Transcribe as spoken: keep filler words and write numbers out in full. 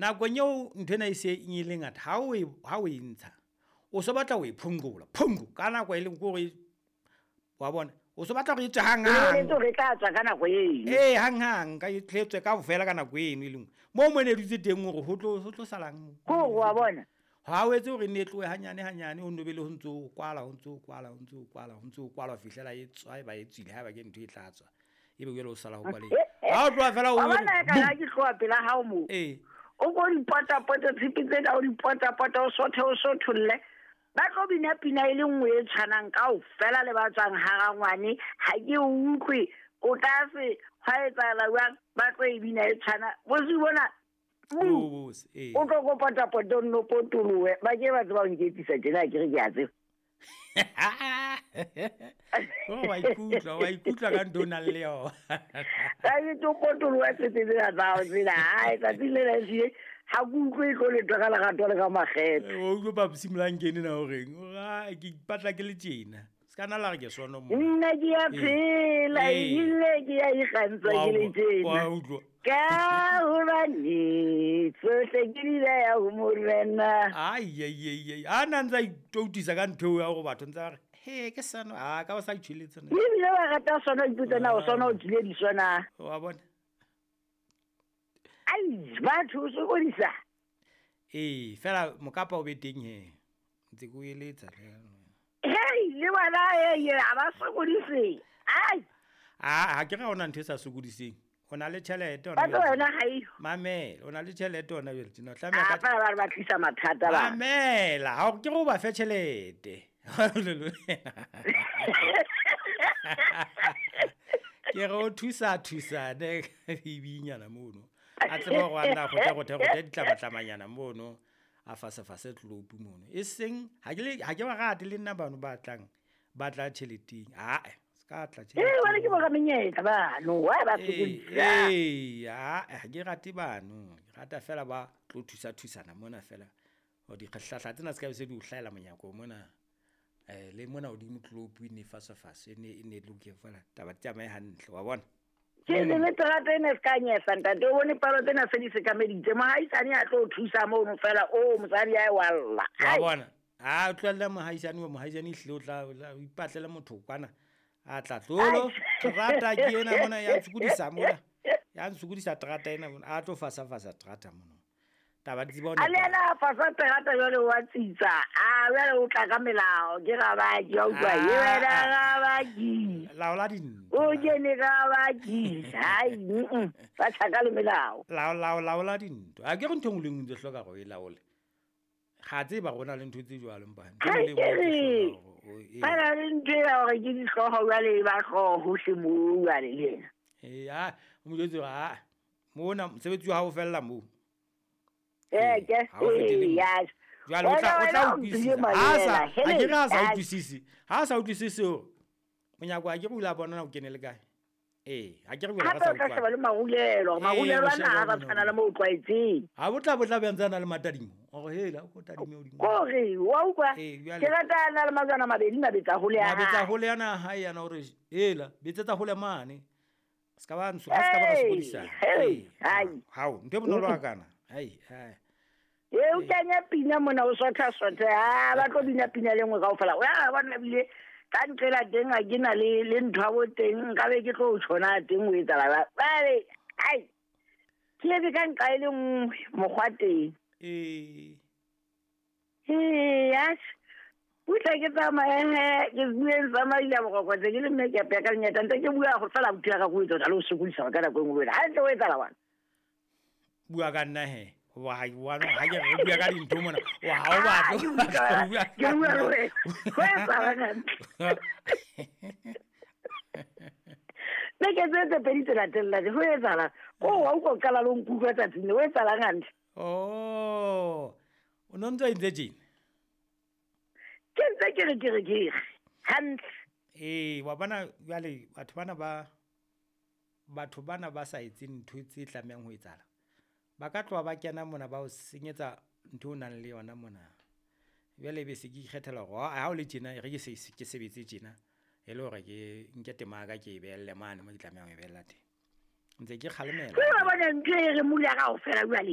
Nakong eo ntho ena e se e le ngata, ha o e ha o e ntsha, o so batla ho e phonqola, phonqo ka nako e leng kore wa bona, o so batla hore e tswe hang hang. O re tla tswa ka nako eno. Ee, hang hang ka e tletswe kaofela ka nako eno e leng. Moo mo ne dutse teng hore ho tlo ho tlo salang mo. Ko wa bona. Ha o etse hore ne tlohe hanyane hanyane, o nno be le ho ntso o kwala, ho ntso o kwala, ho ntso o kwala, ho ntso o kwala ho fihlela e tswa, e ba e tswile haeba ke ntho e tla tswa. Ebe jwale o sala ho kwaleng. Ha o tloha fela o Wa bona ka ha ke tloha pela hao moo. Ee. O ko dipota-pota tshipi tsena, o dipota-pota, o sothe, o sotholle. Ba tlo bina pina e le nngwe e tshwanang kaofela le ba tswang ha rangwane. Ha ke o utlwe, o tlase, hwa etsahala jwang, ba tlo e bina e tshwana. Bosiu bona, O bose, ee. o tlo ko pota-pota o nno potolohe. Ba ke ba tseba ho nketsisa tjena, ke re ke a tseba. Oh, wa ikutlwa, wa ikutlwa ka ntho o nang le yona. Ka ke tlo potolohe tsetse tsena tsa hao tsena. Hai, tsatsing lena ehlile ha ke utlwe e tlo letho ka lerato le ka makgethe. O utlwe Papsi Molankene na o reng? O re, "Ah, ke ipatla ke le tjena." Se ka nna la re ke sono mo. Nna ke a phela, Ee. ebile ke a ikgantsha ke le tjena. Wa utlwa. Ka hobane tsohle ke di beha ho Morena. Ai, ai, ai, ai. A na ntse a itoutisa ka ntho eo ya hore batho ntse ba re, "He, ke sano." Ah, ka ba sa itjheletse na. Ebile ba rata sona, o ipotsa na o sona o tswile diso na. Wa bona? Ai, batho o sokodisa. Ee, fela mokapa o be teng he. Ntse ke o eletsa. Hei, le bona ee, ha ba sokodise. Ai, Ah, ha ke re ha hona ntho e sa sokodiseng. O na le tjhelete hona ba tlo jwale. wena ha eyo. Mamela, o na le tjhelete hona jwale tjena. O tlameha A ka fela ba re ba tlisa mathata ba. Mamela, ha ke re o ba fe tjhelete. Ke re o thusa thusane bibinyana mono. A tsebe hore a nna kgothe kgothe kgothe ditlamatlamanyana mono. A fasa fase tlopu mono. E seng ha ke le ha ke ba rate le nna bano ba tlang ba tla tjheleteng. Ah, se ka tla Ee, jwale ke tjheleteng. bo ramenyetla bano, why ba Ee, sokodisa? ee, ah, ha ke rate bano. Ke rata fela ba tlo thusa thusana mona fela. Hore dikgahlahla tsena se ka be se di o hlahela monyako mona. Eh, le mona hodimo tlopu e ne fasa fase e ne e ne loke fela. Taba di tsamaye hantle, wa bona? Ke le le terata ena se ka nyehla ntate, o bone palo tsena se di sekameditse. Mohaisane a tlo o thusa mono fela, o mosadi a e wa lla. Wa Ai. bona? Ha o tlohelle mohaisane wa mohaisane ehlile o tla o tla o ipatlele motho kwana. A tla tlolo, terata ke ena mona ya ntshokodisa mona. Ya ntshokodisa terata ena mona. A tlo fasa fasa terata mona. Taba di tseba ho A le nepa. yena a fasa terata jwale wa tsitsa. A jwale o tla ka melao, ke rabaki, wa utlwa, Ah, e wena ah. rabaki. Laola dintho. O kene rabaki. Hai, mm, ba tjhaka le melao. Lao lao laola dintho. Ha ke re ntho e nngwe le e nngwe ntse hloka hore o e laole. Ga tseba hore ho na le ntho tse jwalo mpa. Ntho e Hai, nngwe le e nngwe ke o re, tlo hloka hore o e- ba na le ntho ena hore ke dihlooho jwale e ba hlooho hohle moo jwale le yena. Ee, ah, o mo jwetse hore ah, mona mosebetsi wa hao o fella moo. Ee, ke, Ha o fetele ee, moo. ya. Jwale o tla o Wena, tla wena o utlwisisa. mphile Ha sa malela. ha ke re ha sa Hele, utlwisise. Ha sa utlwisise hore monyako ha ke re o ile a bona na o kene le kae. Ee, ha ke re jwale re Hape sa o tla sheba utlwana. le marulelo, hore Ee, marulelo o ana shebe ha ba hore tshwana le moo o tlwaetseng. Ha bo tla bo tla be a ntse a na le matadimo. Hore hela o ko tadime hodimo. Kore, wa utlwa? Ee, jwale. Ke rata a na le majwana a mabedi mabetsa hole ya Mabetsa hae. hole yana hae yana hore hela betsetsa hole mane. Se ka ba ntsho, ha se ka ba ra Hey, sokodisana. hey, Ee, hai. hao, ntho e bonolo hakana. Hai, hai. Ee, o kenya pina mona o sotha sotha. Ah, ba tlo bina pina le nngwe kaofela. O ya bona ebile ka nqela teng ha ke na le le ntho ya bo teng, nka be ke tlo o tjhona teng o etsahala jwang. Jwale, ai. Ke etse ka nqa e le nngwe mokgwa teng. Ee. Ee, atjhe. Butle ke tsamaye he, ke bue tsamaile boroko tse ke le mme ke apeya ka lenyata ntse ke bua go fela abuti ya ka go etsa le o sokodisa ka nako e nngwe le wena. Hantle o etsahala wena. Bua ka nna he. Hoba ha ke bua ha ke re bua ka dintho mona. O ha o Ah, batle ke bua ka- ho bua ke bua le wena. Ho etsahala hantle. Beke tse tse pedi tse latelang ho etsahala. Ko wa utlwa o qala le ho nkutlwa tsatsing leo, ho etsahalang hantle? Oh. O no ntso entse tjena. Ke ntse ke re ke re ke re hantle. Ee, wa bona jwale batho bana ba batho bana ba sa etseng ntho tse tlamehang ho etsahala. Ba ka tloha ba kena mona ba o senyetsa ntho o nang le yona mona. Jwale ebe se ke ikgethela hore ha o le tjena e re ke se ke sebetse tjena e le hore ke nke tema ya ka ke e behelle mane mo ke tlamehang ho e behella teng. Ntse ke kgalemela. Ke wa bona ntho e re mula kaofela jwale.